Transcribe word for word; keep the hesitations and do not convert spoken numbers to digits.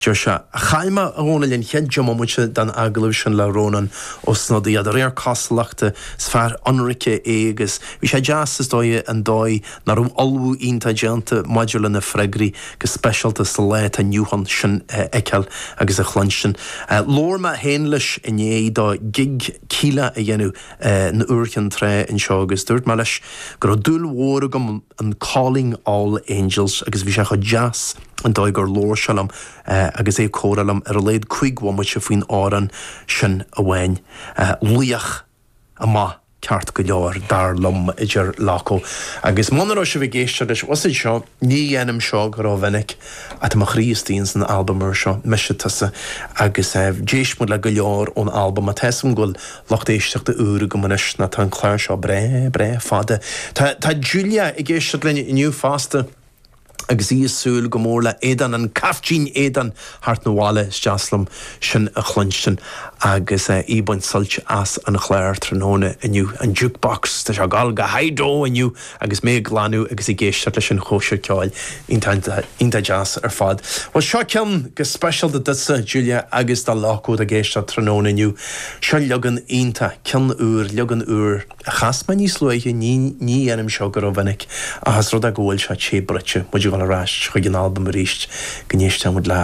Deir sé chaill mé a Dhónaill an chéad deich mbomaite den agallamh sin le Rónán Ó Snodaigh de réir cosúlachta is fear ionraice é agus bhí sé deas is dóigh an dóigh nach raibh ullmhú iontach déanta maidir lena freagraí go speisialta sa lá atá inniu ann sin a fheiceáil agus a chluinstin. Labhair mé féin leis i ndiaidh dó gig Kíla a dhéanamh in Iúr Chinn Trá anseo agus dúirt mé leis go raibh dúil mhór agam in Calling All Angels agus bhí sé chomh deas an dóigh gur labhair sé liom agus é ag comhrá liom ar a laghad cúig bhomaite faoin amhrán sin amháin. Laoch amach ceart go leor dar liom a deir Loco. Agus muna raibh sibh ag éisteacht leis was seo ní dhéanaim seo go rómhinic ach tá mo chroí istigh san albam úr seo Mise Tusa agus d'éist muid le go leor ón albam a tá go bhfuil lucht éisteachta úr agam anois ná tá an clár seo breá breá fada. Tá tá Julia ag éisteacht linn inniu fosta. agus í ag súil go mór le éadan an caiftín éadan thart na bhile deaslam sin a chluinstin agus í ag baint sult as an chlár tráthnóna inniu an jukebox Tá sé ag gabháil go high inniu agus mé ag glanadh agus ag éisteacht leis an chóisir ceoil iontach deas ar fad. Well seo ceann go speisialta duitse Julia agus do Loco ag éisteacht tráthnóna inniu. Seo leagan iontach ceann úr leagan úr a chas mé níos luaithe ní ní dhéanaim seo go rómhinic ach is rud é go bhfuil sé sé bruite muid ar ais chuig an albam arís go n-éisteimid le